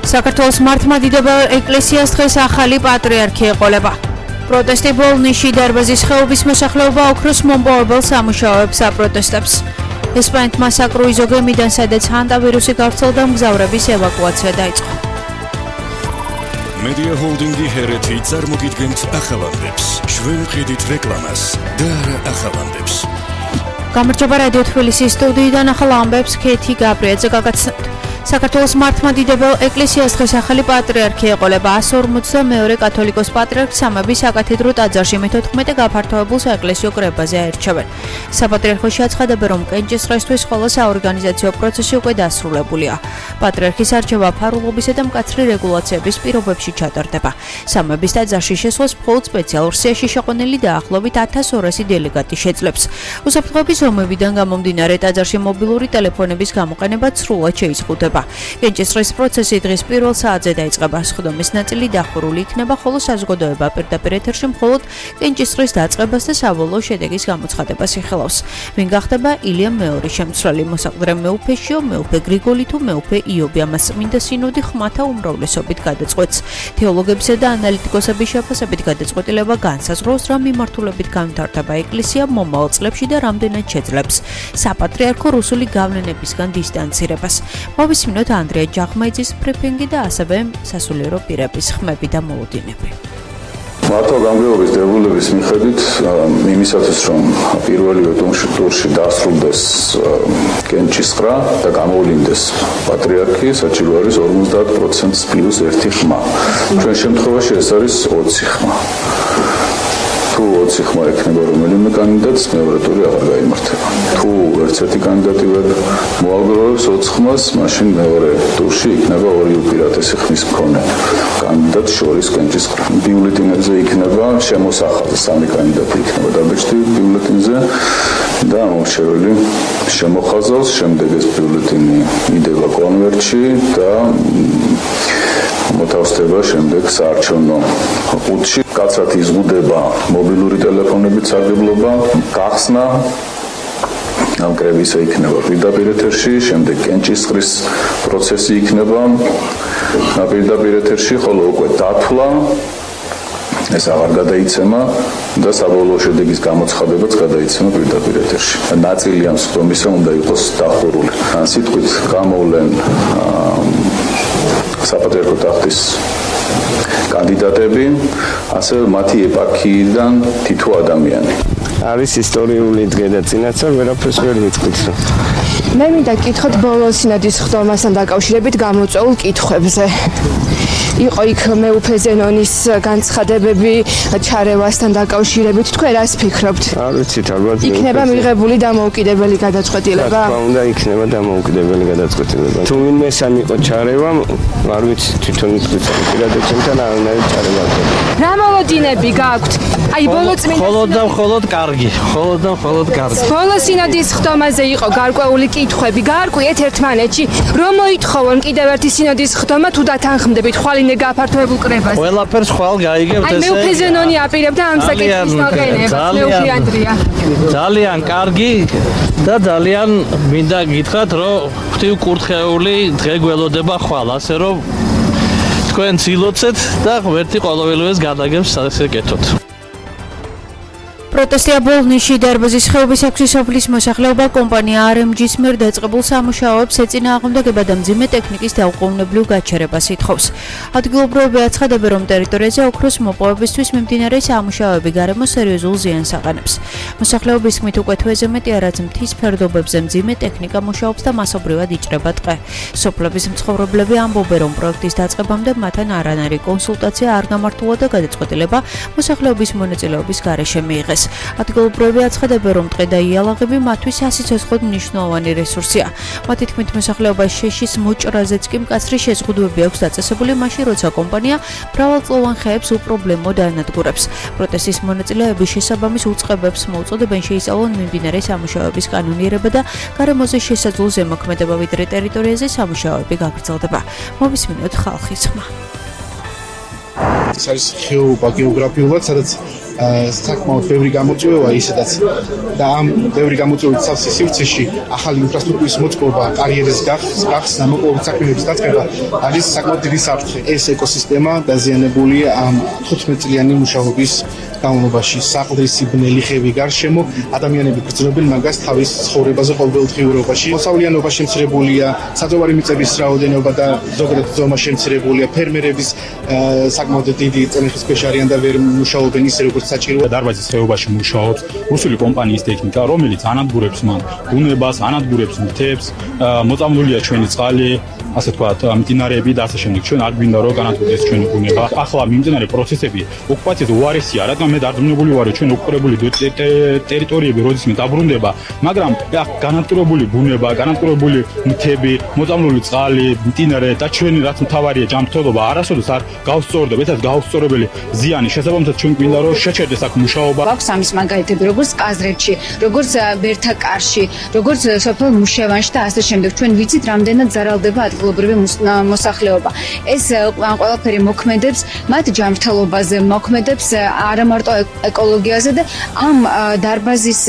საქართველოს მართლმადიდებელ ეკლესიას დღეს ახალი პატრიარქი ეყოლება. პროტესტი ბოლნიში დარბაზის ხეობის მოსახლეობა ოქროს მომპოვებელ სამუშაოებს აპროტესტებს. ესპანეთმა საკრუიზო გემიდან, სადაც ჰანტავირუსი გავრცელდა, მგზავრების ევაკუაცია დაიწყო. Media Holding-ი ჰერეთი წარმოგიდგენთ ახალამდებს. ჩვენ ვხედით რეკლამას და არა ახალამდებს. გამარჯობა რადიო თბილისის სტუდიიდან ახალ ამბებს ქეთი გაბრიაძე გაგაცნობთ. საქართველოს მართლმადიდებელ ეკლესიას დღეს ახალი პატრიარქი ეყოლება. 152 კათოლიკოს პატრიარქს სამების საკათედრო ტაძარში მე-14 გაფართოებულ საეკლესიო კრებაზე აირჩევენ. საპატრიარქოში აცხადებენ, რომ კენჭისყრისთვის ყველა საორგანიზაციო პროცესი უკვე დასრულებულია. პატრიარქის არჩევა ფარულობისა და მკაცრი რეგულაციების პირობებში ჩატარდება. სამების ტაძარში შესვლას მხოლოდ სპეციალურ სიაში შეყვანილი დაახლოებით 1200 დელეგატი შეძლებს. უსაფრთხოების ომებიდან გამომდინარე ტაძარში მობილური ტელეფონების გამოყენება სრულად შეიზღუდება. კენჭისყრის პროცესი დღის პირველ საათზე დაიწყება. სხდომის ნაწილი დახურული იქნება, ხოლო საზოგადოება პირდაპირ ეთერში მხოლოდ კენჭისყრის დაწყებას და საბოლოო შედეგის გამოცხადებას იხილავს. ვინ გახდება ილია მეორის შემცვლელი, მოსაყდრე მეუფე შიო, მეუფე გრიგოლი თუ მეუფე იობი, ამას წმინდა სინოდი ხმათა უმრავლესობით გადაწყვეტს. თეოლოგებისა და ანალიტიკოსების შეფასებით გადაწყვეტილება განსაზღვრავს, რა მიმართულებით განვითარდება ეკლესია მომავალ წლებში და რამდენად შეძლებს საპატრიარქო რუსული გავლენებისგან დისტანცირებას. მოვისმინოთ ანდრია ჯახმაიძის ბრიფინგი და ასევე სასულიერო პირების ხმები და მოლოდინები. მართვა გამგეობის დებულების მიხედვით იმისათვის, რომ პირველივე ტურში დასრულდეს კენჭისყრა და გამოვლინდეს პატრიარქი, საჭირო არის 50% პლუს 1 ხმა. ჩვენ შემთხვევაში ეს არის 20 ხმა. თუ 20 ხმა ექნება რომელიმე კანდიდატს, მეორე ტური აღარ გაიმართება. თუ ერთ-ერთი კანდიდატი ვერ მოაგროვებს 20 ხმას, მაშინ მეორე ტურში იქნება ორი უპირატესი ხმის მქონე კანდიდატს შორის კენჭისყრა. ბიულეტენებზე იქნება შემოსახაზი, სამი კანდიდატი იქნება დაბეჭდილი ბიულეტენზე და ამორჩეველი შემოხაზავს, შემდეგ ეს ბიულეტენი იდება კონვერტში და მოთავსდება შემდეგ საარჩევნო ყუთში. კაცრად იზღუდება მობილური ტელეფონებით სარგებლობა, გახსნა ამ კრებისა იქნება პირდაპირ ეთერში, შემდეგ კენჭისყრის პროცესი იქნება პირდაპირ ეთერში, ხოლო უკვე დათვლა ეს აღარ გადაიცემა და საბოლოო შედეგის გამოცხადებაც გადაიცემა პირდაპირ ეთერში. ნაწილი ამ სხდომისა უნდა იყოს დახურული. სიტყვით გამოვლენ საპატრიარქო ტახტის კანდიდატები, ასევე მათი ეპარქიიდან თითო ადამიანი. არის ისტორიული დღე-წინაცა, ვერაფერს ვერ ვიტყვით. მე მინდა გკითხოთ ბოლო სინოდის ხდომასთან დაკავშირებით გამოწვეულ კითხვებზე. იყო იქ მეუფე ზენონის განცხადებები ჩარევასთან დაკავშირებით, თქვენ რას ფიქრობთ? არ ვიცით, ალბათ იქნება მიღებული დამოუკიდებელი გადაწყვეტილება? რა თქმა უნდა, იქნება დამოუკიდებელი გადაწყვეტილება. თუ ვინმე სამიყო ჩარევა, არ ვიცი, თვითონ იტყვით, პირადად ჩემთან არანაირი ჩარევა არ ქონია. რა მოლოდინები გაქვთ? აი ბოლო წმინდა მხოლოდ კარგი. ბოლო სინოდის ხდომაზე იყო გარკვეული კითხვები. გაარკვიეთ ერთმანეთში, რომ მოითხოვონ კიდევ ერთი სინოდის ხდომა თუ დათანხმდებით ხვალინე გაფართოებულ კრებას. ყველაფერს ხვალ გაიგებთ ესე. აი მეუფე ზენონი აპირებდა ამ საკითხის დაყენებას. მეუფე ანდრია. ძალიან კარგი და ძალიან მინდა გითხრათ, რომ ღვთივკურთხეული დღე გველოდება ხვალ, ასე რომ თქვენ ცილოცეთ და ღმერთი ყოველივეს გადაგებს ასე კეთოთ. პროტესტია ბოლნიში დარბაზის ხეობის 6 სოფლის მოსახლეობა კომპანია RMG-ს მიერ დაწყებულ სამუშაოებს ეწინააღმდეგება და მძიმე ტექნიკის დაუყოვნებლივ გაჩერებას ითხოვს. ადგილობრივები აცხადებენ, რომ ტერიტორიაზე ოქროს მოპოვებისთვის მიმდინარე სამუშაოები გარემოს სერიოზულ ზიანს აყენებს. მოსახლეობის თქმით, უკვე თვეზე მეტია, რაც მთის ფერდობებზე მძიმე ტექნიკა მუშაობს და მასობრივად იჭრება ტყე. სოფლების მცხოვრებლები ამბობენ, რომ პროექტის დაწყებამდე მათთან არანაირი კონსულტაცია არ გამართულა და გადაწყვეტილება მოსახლეობის მონაწილეობის გარეშე მიიღეს. ადგილობრივები აცხადებენ, რომ ტყე და იალაღები მათთვის სასიცოცხლოდ მნიშვნელოვანი რესურსია. მათი თქმით, მოსახლეობას შეშის მოჭრაზეც კი მკაცრი შეზღუდვები აქვს დაწესებული, მაშინ როცა კომპანია მრავალწლოვან ხეებს უპრობლემოდ ანადგურებს. პროტესტის მონაწილეები შესაბამის უწყებებს მოუწოდებენ შეისწავლონ მიმდინარე სამუშაოების კანონიერება და გარემოზე შესაძლო ზემოქმედება, ვიდრე ტერიტორიაზე სამუშაოები გაგრძელდება. მოვისმინოთ ხალხის ხმა. ეს არის ხეობა გეოგრაფიულად, სადაც საკმაოდ ბევრი გამოწვევაა ისედაც და ამ ბევრი გამოწვევის სავსე სივრცეში ახალი ინფრასტრუქტურის მოწყობა, კარიერის გახსნა, მოპოვების საქმეების დაწყება არის საკმაოდ დიდი საფრთხე. ეს ეკოსისტემა დაზიანებულია ამ 15 წლიანი მუშაობის განმავლობაში. საყდრისი ბნელი ხევი გარშემო ადამიანები გრძნობენ მაგას თავის ცხოვრებაზე ყოველდღიურობაში. მოსავლიანობა შემცირებულია, საძოვარი მიწების რაოდენობა და ზოგადად ზომა შემცირებულია. ფერმერების საკმაოდ დიდი წინახის ქვეშ არიან და ვერ მუშაობენ ისე როგორც საჭიროა. დარბაზის ხეობაში მუშაობს რუსული კომპანიის ტექნიკა, რომელიც ანადგურებს მან ბუნებას, ანადგურებს მთებს, მოწამლულია ჩვენი წყალი, ასე ვთქვათ, მდინარეები და ასე შემდეგ. ჩვენ არ გვინდა რომ განადგურდეს ჩვენი ბუნება. ახლა მიმდინარე პროცესები ოკუპაციაზე უარესია, რადგან მე დარწმუნებული ვარ, რომ ჩვენ ოკუპირებული ტერიტორიები როდისმე დაბრუნდება, მაგრამ განადგურებული ბუნება, განადგურებული მთები, მოწამლული წყალი, მდინარე და ჩვენი რაც მთავარია ჯანმრთელობა არასოდეს არ გავსწორდება, ესეც გაუსწორებელი ზიანი. შესაბამისად ჩვენ გვინდა რომ შეჩერდეს აქ მუშაობა. აქვს ამის მაგალითები, როგორც ყაზრეთში, როგორც ბერთაკარში, როგორც სოფელ მუშევანში და ასე შემდეგ. ჩვენ ვიცით, რამდენად ზარალდება ადგილობრივი მოსახლეობა. ეს ყველაფერი მოქმედებს მათ ჯანმრთელობაზე, მოქმედებს არა მარტო ეკოლოგიაზე და ამ დარბაზის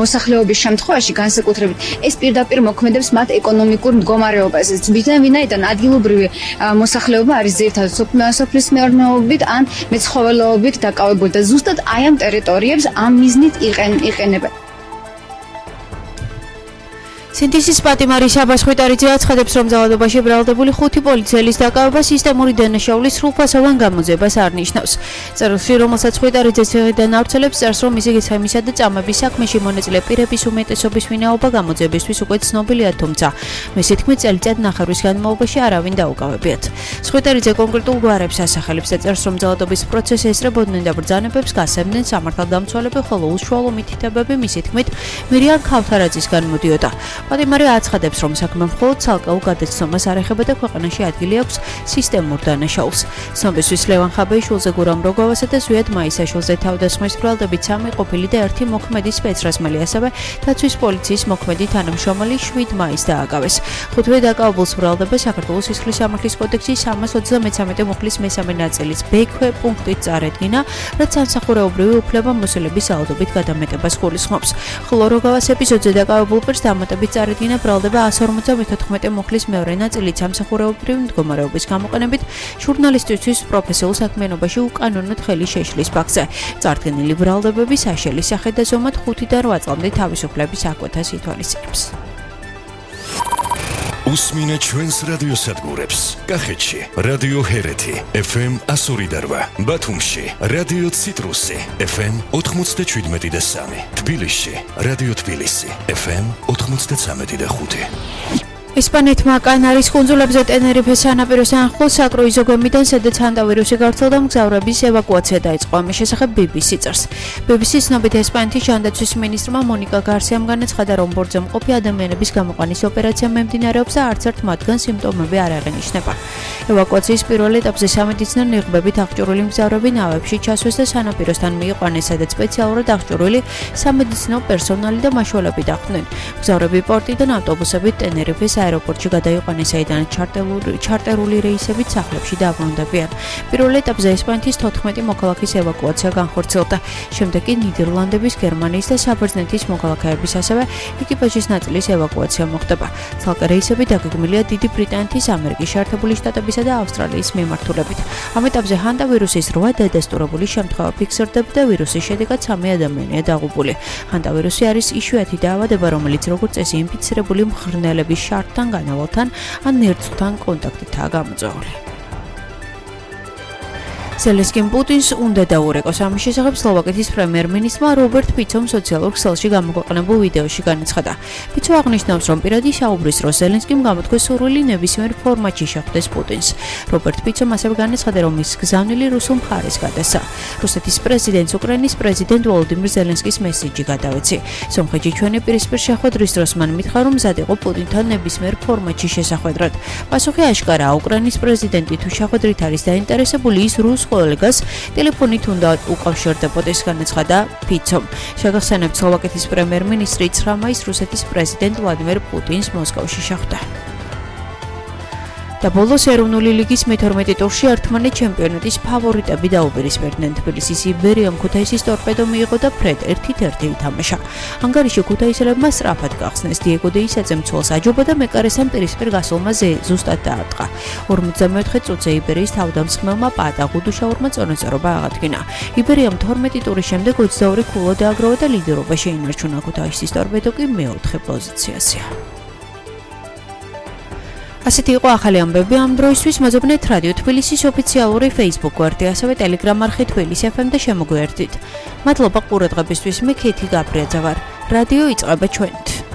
მოსახლეობის შემთხვევაში განსაკუთრებით ეს პირდაპირ მოქმედებს მათ ეკონომიკურ მდგომარეობაზე. ვინაიდან ადგილობრივი მოსახლეობა არის ძირითადად სოფლის მეურნეობით ან მეცხოველეობით დაკავებული და ზუსტად აი ამ ტერიტორიებს ამ მიზნით იყენებენ. სინთეზის პატიმარი საბას ხვიტარიძე აცხადებს, რომ ძალადობაში ბრალდებული 5 პოლიციელის დაკავება სისტემური დანაშაულის სრულფასოვან გამოძებას არ ნიშნავს. წერილში, რომელსაც ხვიტარიძე ციხიდან ავრცელებს, წერს, რომ მისი გეცემისა და წამების საქმეში მონაწილე პირების უმეტესობის ვინაობა გამოძიებისთვის უკვე ცნობილია, თუმცა მისი თქმით, წელიწად ნახევრის განმავლობაში არავინ დაუკავებიათ. ხვიტარიძე კონკრეტულ გვარებს ასახელებს და წერს, რომ ძალადობის პროცესი ესწრებოდნენ და ბრძანებებს გასცემდნენ სამართალდამცველები, ხოლო უშუალო მითითებები მისი თქმით მირიან ქავთარაძისგან მოდიოდა. პატიმარი აცხადებს, რომ საქმე მხოლოდ ცალკეულ გადაცნობას არ ეხება და ქვეყანაში ადგილი აქვს სისტემურ დანაშაულს. ცნობისთვის ლევან ხაბეიშვილზე, გურამ როგოვასა და ზვიად მაისაშვილზე თავდასხმის ბრალდებით 3 ყოფილი და 1 მოქმედი სპეცრაზმელი, ასევე დაცვის პოლიციის მოქმედი თანამშრომელი 7 მაისს დააკავეს. 5-ვე დაკავებულს ბრალდება საქართველოს სისხლის სამართლის კოდექსის 333 მუხლის მესამე ნაწილის ბ-ქვე პუნქტით წარედგინა, რაც სამსახურეობრივი უფლებამოსილების ძალადობით გადამეტებას გულისხმობს. ხოლო როგოვას ეპიზოდზე დაკავებულ პირს დამატებით წარედგინა ბრალდება 154 მუხლის მეორე ნაწილი სამსახურეობრივი მდგომარეობის გამოყენებით ჟურნალისტისთვის პროფესიულ საქმიანობაში უკანონოდ ხელი შეშლის ფაქტზე. წარდგენილი ბრალდებები საშელის სახე და ზომად 5 და 8 წლამდე თავისუფლების აკვეთას ითვალისწინებს. უსმინე ჩვენს რადიოსადგურებს. კახეთში რადიო ჰერეთი FM 102.8, ბათუმში რადიო ციტრუსი FM 97.3, თბილისში რადიო თბილისი FM 93.5. ესპანეთმა კანარის კუნძულებზე ტენერიფეს სანაპიროს ახლოს საკრუიზო გვემიდან, სადაც ჰანტავირუსი გავრცელდა, მგზავრების ევაკუაცია დაიწყო. ამის შესახებ BBC წერს. BBC-ს ცნობით ესპანეთის ჯანდაცვის მინისტრმა მონიკა გარსიამ განაცხადა, რომ ბორტზე მყოფი ადამიანების გამოყვანის ოპერაცია მიმდინარეობს და არც ერთ მათგან სიმპტომები არ აღინიშნება. ევაკუაციის პირველ ეტაპზე სამედიცინო ნიღბებით აღჭურვილი მგზავრები ნავებში ჩასვეს და სანაპიროსთან მიიყვანეს, სადაც სპეციალურად აღჭურვილი სამედიცინო პერსონალი და მაშველები დახვდნენ. მგზავრები პორტიდან ავტობუსებით ტენერიფეს აეროპორტში გადაიყვანეს, საიდანაც ჩარტერული რეისებით სახლებში დაბრუნდებიან. პირველ ეტაპზე ესპანეთის 14 მოქალაქის ევაკუაცია განხორციელდა. შემდეგ კი ნიდერლანდების, გერმანიის და საბერძნეთის მოქალაქეების, ასევე ეკიპაჟის ნაწილის ევაკუაცია მოხდება. ცალკე რეისები დაგეგმილია დიდი ბრიტანეთის, ამერიკის შეერთებული შტატებისა და ავსტრალიის მიმართულებით. ამ ეტაპზე ჰანტავირუსის 8 დადასტურებული შემთხვევა ფიქსირდება და ვირუსის შედეგად 3 ადამიანია დაღუპული. ჰანტავირუსი არის იშვიათი დაავადება, რომელიც როგორც წესი ინფიცირებული მღრღნელების თან განავალთან ან ნერწთან კონტაქტითაა გამოწვეული. ზელენსკიმ პუტინს უნდა დაურეკოს. ამის შესახებ სლოვაკეთის პრემიერ-მინისტრმა რობერტ ფიცომ სოციალურ ქსელში გამოქვეყნებულ ვიდეოში განაცხადა. ფიცო აღნიშნავს, რომ პირადი საუბრის დროს ზელენსკიმ გამოთქვეს სურვილი ნებისმიერ ფორმატში შეხვდეს პუტინს. რობერტ ფიცომ ასევე განაცხადა, რომ ის გზავნილი რუსულ მხარეს გადასცა. რუსეთის პრეზიდენტს უკრაინის პრეზიდენტ ვოლოდიმირ ზელენსკის მესიჯი გადავეცი. სომხეთში ჩვენი პირისპირ შეხვედრის დროს მან მითხრა, რომ მზად იყო პუტინთან ნებისმიერ ფორმატში შესახვედრად. პასუხი აშკარაა, უკრაინის პრეზიდენტი თუ შეხვედრით არის დაინტერესებული, ის რუს კოლეგას ტელეფონით უნდა უკავშირდებოდეს, განაცხადა ფიცომ. შეგახსენებთ, სლოვაკეთის პრემიერ-მინისტრი 9 მაისს რუსეთის პრეზიდენტ ვლადიმერ პუტინს მოსკოვში შეხვდა. და ბოლოს ეროვნული ლიგის მე-12 ტურში ერთმანეთ ჩემპიონატის ფავორიტები დაუპირისპირდნენ თბილისის იბერიამ ქუთაისის ტორპედო მიიღო და ფრედ 1-1 ითამაშა. ანგარიში ქუთაისელებმა სწრაფად გახსნეს დიეგო დეისაძემ ცოლს აჯობა და მეკარესამ პირისპირ გასულმა ზუსტად დაარტყა. 54 წუთზე იბერიის თავდამსხმელმა პატა გუდუშაურმა წონასწორობა აღადგინა. იბერიამ 12 ტურის შემდეგ 22 ქულო დააგროვა და ლიდერობა შეინარჩუნა ქუთაისის ტორპედო კი მე-4 პოზიციაზეა. ასეთი იყო ახალი ამბები ამ დროისთვის. მოძებნეთ რადიო თბილისის ოფიციალური Facebook გვერდი, ასევე Telegram არხი თბილისი FM და შემოგვიერთდით. მადლობა ყურადღებისთვის. მე ქეთი გაბრიაძე ვარ. რადიო იწყება ჩვენით.